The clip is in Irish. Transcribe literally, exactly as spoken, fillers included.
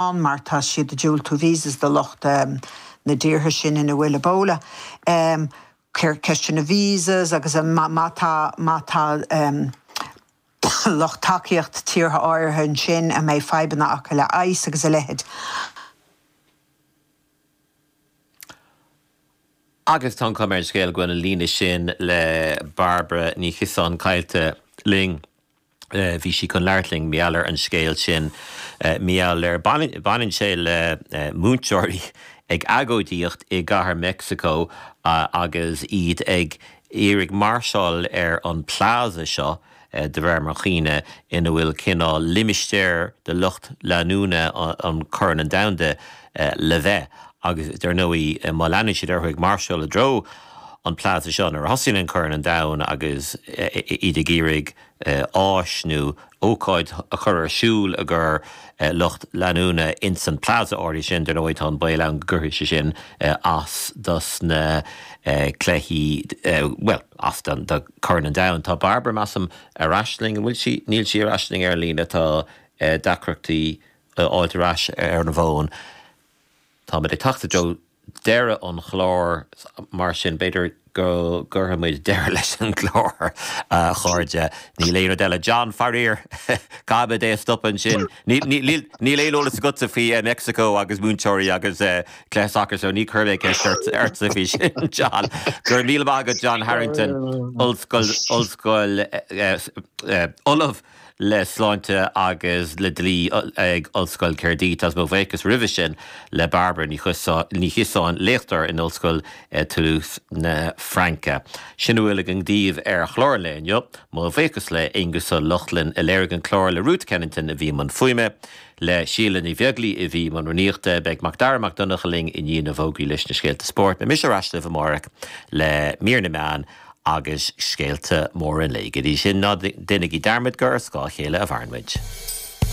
Mar tá siad ag diúltú visas do lucht um, na dtíortha sin ina bhfuil Ebola. Um, ceist na visas agus má tá má tá um, lucht tacaíocht tíortha áirithe ansin a mbeidh fadhbanna acu le ICE agus a leithéid. Agus tá an chuma ar an scéal go bhfuil an líne sin le Barbara Ní Chiosáin caillte linn. Bhí sí chun labhairt linn mar gheall ar an scéal sin, mar gheall ar, baineann sé le múinteoirí ag agóidíocht i gcathair Meicsiceo agus iad ag iarraidh máirseáil ar an plaza seo, de réir mo chuimhne, ina bhfuil cineál limistéar de lucht leanúna an Chorn an Domhanda le bheith. Agus dar ndóigh má leanann siad orthu ag máirseáil i dtreo an plaza seo nuair a thosaíonn an Corn an Domhain agus iad ag iarraidh áis nó ócáid a chur ar siúl i gcomhair lucht leanúna ins an plaza áirithe sin, dar ndóigh tá an baol ann go gcuirfidh sé sin as dos na cluichí, bhuel, as do Chorn an Domhain. Tá Barbara, measaim, ar ais linn, an bhfuil sí? Níl sí ar ais linn ar an líne, tá deacrachtaí a fháilt ar ais ar an bhfón. Táimid ag teacht i dtreo deireadh an chláir, mar sin b'fhéidir go gcuirfidh muid deireadh leis an gclár, a chairde. Níl aon rud eile. John, faraor, caithfimid é a stopadh ansin. Níl aon eolas agatsa faoi Meicsiceo agus múinteoirí agus cluiche sacair so ní chuirfidh mé ceist ortsa faoi sin, John. Go raibh míle maith agat, John Harrington, Ollscoil, Ollscoil, Ollamh le Sláinte agus le Dlí ag Ollscoil Caerdydd agus mo bhuíochas roimhe sin le Barbara Ní Chiosáin, léachtóir in Ollscoil Toulouse na Fraince. Sin a bhfuil againn daoibh ar chlár an lae inniu. Mo bhuíochas le Aonghus Ó Lochlainn a léirigh an clár, le Ruth Kennington a bhí i mbun fuaime, le Síle Ní Bheaglaoi a bhí i mbun rúnaíochta. Beidh Macdara Mac Donncha linn i ndiaidh na bhfógraí leis na scéalta spóirt. Beidh mise ar ais libh amárach le mír na meán agus scéalta móra an lae. Go dtí sin, ná déanaigí dearmad gur ar scáth a chéile a mhaireann muid.